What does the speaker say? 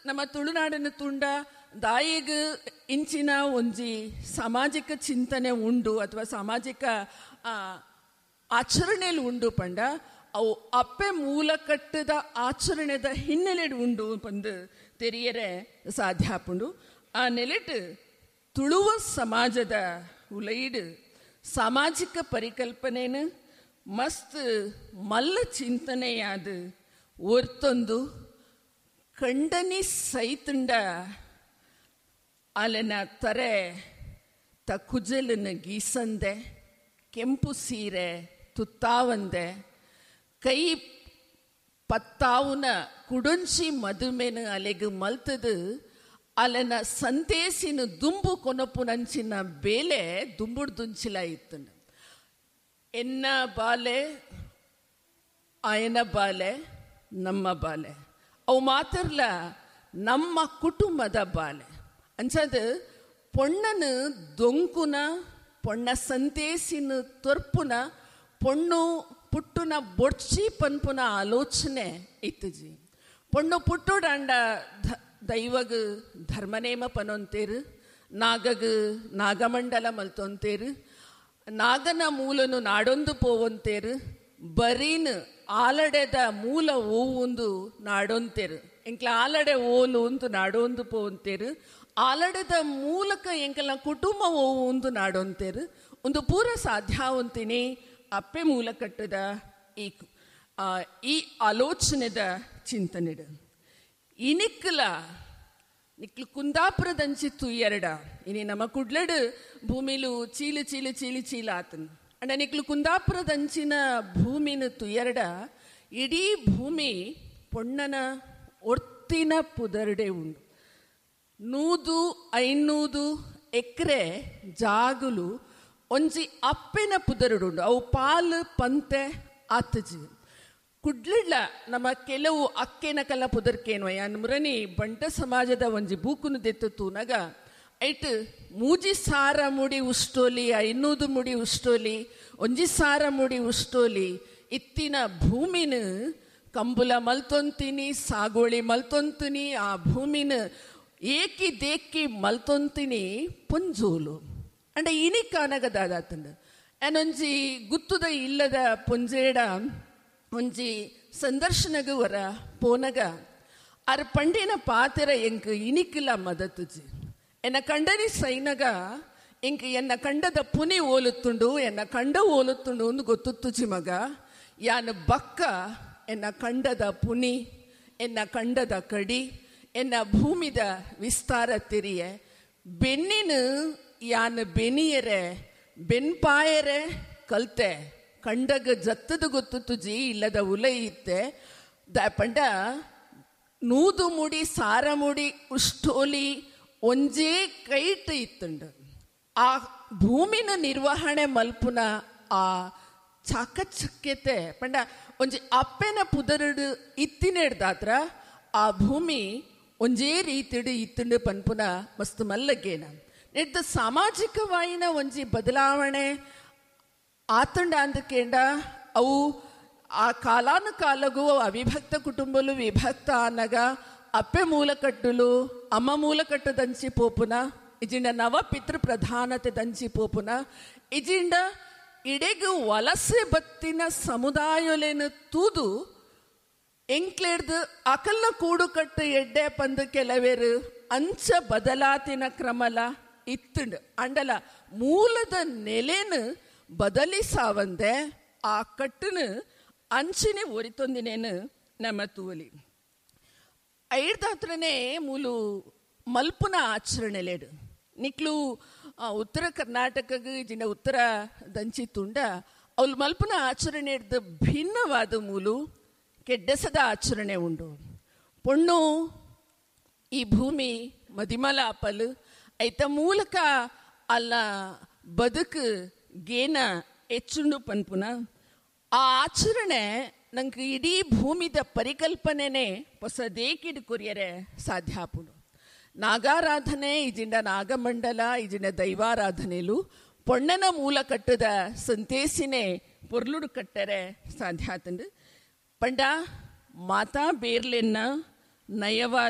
ನಮ್ಮ ತುಳುನಾಡಿನ ತುಂಡ ದಾಯಿಗ್ ಇಂಚಿನ ಒಂಜಿ ಸಾಮಾಜಿಕ ಚಿಂತನೆ ಉಂಡು ಅಥವಾ ಸಾಮಾಜಿಕ ಆಚರಣೆಯಲ್ಲಿ ಉಂಡು ಪಂಡ ಅವು ಅಪ್ಪೆ ಮೂಲ ಕಟ್ಟದ ಆಚರಣೆದ ಹಿನ್ನೆಲೆ ಉಂಡು ಪಂದು ತೆರಿಯರೆ ಸಾಧ್ಯ ಆಪುಂಡು. ಆ ನೆಲೆಟ್ ತುಳುವ ಸಮಾಜದ ಉಲೈಡ್ ಸಾಮಾಜಿಕ ಪರಿಕಲ್ಪನೆನು ಮಸ್ತ್ ಮಲ್ಲ ಚಿಂತನೆಯಾದ ಒರ್ತೊಂದು ಕಂಡನಿ ಸೈತುಂಡ ಅಲೆನ ತರೆ ತ ಕುಜಲನ್ನು ಗೀಸಂದೆ, ಕೆಂಪು ಸೀರೆ ತುತ್ತಾವಂದೆ, ಕೈ ಪತ್ತಾವುನ ಕುಡೊಂಚಿ ಮದುಮೆನು ಅಲೆಗು ಮಲ್ತದು ಅಲೆನ ಸಂತೇಸಿನ ದುಂಬು ಕೊನಪುನಂಚಿನ ಬೇಲೆ ದುಂಬುಡ್ ದುಂಚಿಲ ಇತ್ತು. ಎನ್ನ ಬಾಲೆ ಆಯನ ಬಾಲೆ ನಮ್ಮ ಬಾಲೆ ಅವು ಮಾತ್ರಲ್ಲ ನಮ್ಮ ಕುಟುಂಬದ ಬಾಲೆ ಅಂಚದು ಪೊಣ್ಣನು ದೊಂಕುನ ಪೊಣ್ಣ ಸಂತೇಸಿನ ತೊರ್ಪುನ ಪೊಣ್ಣು ಪುಟ್ಟುನ ಬೊಡ್ಚಿ ಪನ್ಪುನ ಆಲೋಚನೆ ಇತ್ತುಜಿ. ಪೊಣ್ಣು ಪುಟ್ಟುಡಾಂಡ ದೈವಗ ಧರ್ಮನೇಮ ಪನೊಂತೇರು, ನಾಗಗ ನಾಗಮಂಡಲ ಮಲ್ತೊಂತೇರು, ನಾಗನ ಮೂಲನು ನಾಡೊಂದು ಪೋವಂತೇರು, ಬರೀನ್ ಆಲಡೆದ ಮೂಲ ಓವುಂದು ನಾಡೊಂತೇರು, ಎಂಕ್ಲ ಆಲಡೆ ಓಲು ಉಂದು ನಾಡೊಂದು ಪೋವಂತೇರು, ಆಲಡೆದ ಮೂಲಕ ಎಂಕಲ ಕುಟುಂಬ ಓವುಂದು ನಾಡೊಂತೇರು. ಒಂದು ಪೂರ ಸಾಧ್ಯ ಅಂತೀನಿ ಅಪ್ಪೆ ಮೂಲ ಕಟ್ಟದ ಈ ಆಲೋಚನೆದ ಚಿಂತನೆಡು. ಇನಿಕ್ಲ ನಿಕ್ಲು ಕುಂದಾಪುರದಂಚಿ ತುಯ್ಯರಡ ಇನಿ ನಮ್ಮ ಕುಡ್ಲಡು ಭೂಮಿಲು ಚೀಲು ಚೀಲು ಚೀಲು ಚೀಲ ಆತನು ಅಂಡ ನಿಕ್ಲು ಕುಂದಾಪುರದಂಚಿನ ಭೂಮಿನ ತುಯ್ಯರಡ ಇಡೀ ಭೂಮಿ ಪೊಣ್ಣನ ಒರ್ತಿನ ಪುದರ್ಡೆ ಉಂಡು. 100 500 ಎಕರೆ ಜಾಗುಲು ಒಂಜಿ ಅಪ್ಪೆನ ಪುದರುಡುಂಡು. ಅವು ಪಾಲು ಪಂತೆ ಆತಜಿ. ಕುಡ್ಲಿಡ್ಲ ನಮ್ಮ ಕೆಲವು ಅಕ್ಕೆನ ಕಲ್ಲ ಪುದರ್ಕೇನು ಯಾನ್ ಮುರನಿ ಬಂಟ ಸಮಾಜದ ಒಂಜಿ ಬೂಕುನು ದೆತ್ತು ತೂನಗ ಐಟ್ 3 ಸಾರ ಮುಡಿ ಉಷ್ಟೋಲಿ, 500 ಮುಡಿ ಉಷ್ಟೋಲಿ, 1 ಸಾರ ಮುಡಿ ಉಷ್ಟೋಲಿ ಇತ್ತಿನ ಭೂಮಿನ ಕಂಬುಲ ಮಲ್ತೊಂತೀನಿ, ಸಾಗೋಳಿ ಮಲ್ತೊಂತೀನಿ, ಆ ಭೂಮಿನ ಏಕಿ ದೇಕಿ ಮಲ್ತೊಂತೀನಿ ಪೊಂಜೋಲು ಅಂಡ ಇನಿ ಕಾನಗದಾದಾತಂಡು. ಏನೊಂಜಿ ಗುತ್ತುದ ಇಲ್ಲದ ಪೊಂಜೇಡ ಒಂಜಿ ಸಂದರ್ಶನಗು ವರ ಪೋನಗ ಅರ್ ಪಂಡಿನ ಪಾತ್ರ ಎಂಕ್ ಇನಿಕ್ಲ ಮದತುಜಿ. ಎನ್ನ ಕಂಡನಿ ಸೈನಗ ಎಂಕ್ ಎನ್ನ ಕಂಡದ ಪುನಿ ಓಲುತ್ತುಂಡು, ಎನ್ನ ಕಂಡ ಓಲುತ್ತುಂಡು ಒಂದು ಗೊತ್ತುತ್ತುಜಿ ಮಗ. ಯಾನು ಬಕ್ಕ ಎನ್ನ ಕಂಡದ ಪುನಿ, ಎನ್ನ ಕಂಡದ ಕಡಿ, ಎನ್ನ ಭೂಮಿದ ವಿಸ್ತಾರ ತೆರಿಯೆ ಬೆನ್ನಿನ ಯಾನು ಬೆನಿಯರೆ ಬೆನ್ಪಾಯರೆ ಕಲ್ತೆ ಕಂಡಗ ಜತ್ತದ ಗೊತ್ತುಜಿ ಇಲ್ಲದ ಉಲೈ ಇತ್ತೆ the ಪಂಡ 100 ಮುಡಿ ಸಾರ ಮುಡಿ ಉಷ್ಟೋಲಿ ಒಂಜೇ ಕೈಟ್ ಇತ್ತುಂಡು. ಆ ಭೂಮಿನ ನಿರ್ವಹಣೆ ಮಲ್ಪುನ ಆ ಚಾಕಚಕ್ಯತೆ ಪಂಡ ಒಂಜಿ ಅಪ್ಪೆನ ಪುದರುಡು ಇತ್ತಿನೆಡ್ದಾತ್ರ ಆ ಭೂಮಿ ಒಂಜೇ ರೀತಿಡು ಇತ್ತುಂಡು ಪನ್ಪುನ ಮಸ್ತ್ ಮಲ್ಲಗೇನ. ನೆಡ್ದ ಸಾಮಾಜಿಕವಾಯಿನ ಒಂಜಿ ಬದಲಾವಣೆ ಆತಂಡ ಅಂದಕೇಂಡ ಅವು ಆ ಕಾಲಾನುಕಾಲಗೂ ಅವಿಭಕ್ತ ಕುಟುಂಬಲು ವಿಭಕ್ತ ಆನಗ ಅಪ್ಪೆ ಮೂಲಕಟ್ಟುಲು ಅಮ್ಮ ಮೂಲಕಟ್ಟು ದಂಚಿ ಪೋಪುನ ಇಜಿಂಡ ನವ ಪಿತೃ ಪ್ರಧಾನತೆ ದಂಚಿ ಪೋಪುನ ಇಜಿಂಡ ಇಡೆಗು ವಲಸೆ ಬತ್ತಿನ ಸಮುದಾಯಲೇನು ತೂದು ಎಂಕ್ಲೇಡ್ದು ಅಕಲ್ಲ ಕೂಡುಕಟ್ಟು ಎಡ್ಡೆ ಪಂದು ಕೆಲವೇರು ಅಂಚ ಬದಲಾತಿನ ಕ್ರಮಲ ಇತ್ತುಂಡು. ಅಂಡಲ ಮೂಲದ ನೆಲೆನು ಬದಲಿಸಾವಂದೆ ಆ ಕಟ್ಟನು ಅಂಚಿನೆ ಒರಿತೊಂದಿನೇನು ನಮ್ಮ ತೂವಲಿ. ಐಡ್ದಾತ್ರನೇ ಮೂಲು ಮಲ್ಪುನ ಆಚರಣೆಲೇಡು ನಿಕ್ಲು ಉತ್ತರ ಕರ್ನಾಟಕಗೆ ಜಿನ ಉತ್ತರ ದಂಚಿ ತುಂಡ ಅವಳು ಮಲ್ಪುನ ಆಚರಣೆ ಹಿಡ್ದು ಭಿನ್ನವಾದ ಮೂಲು ಕೆಡ್ಡಸದ ಆಚರಣೆ ಉಂಡು. ಪೊಣ್ಣು ಈ ಭೂಮಿ ಮದಿಮಲ ಅಪಲು ಐತ ಮೂಲಕ ಅಲ್ಲ ಬದುಕು ಗೇನ ಹೆಚ್ಚುಂಡು ಪನ್ಪುನ ಆ ಆಚರಣೆ ನಂಗೆ ಇಡೀ ಭೂಮಿದ ಪರಿಕಲ್ಪನೆನೇ ಹೊಸದೇಕಿಡು ಕೊರಿಯರೆ ಸಾಧ್ಯ ಆಪುಂಡು. ನಾಗಾರಾಧನೆ ಇಜಿಂಡ ನಾಗಮಂಡಲ ಇಜಿಂಡ ದೈವಾರಾಧನೆಲು ಪೊಣ್ಣನ ಮೂಲ ಕಟ್ಟದ ಸಂತೇಸಿನೇ ಪೊರ್ಲುಡು ಕಟ್ಟರೆ ಸಾಧ್ಯ ಆತಂಡು. ಪಂಡ ಮಾತಾ ಬೇರ್ಲೆನ್ನ ನಯವಾದ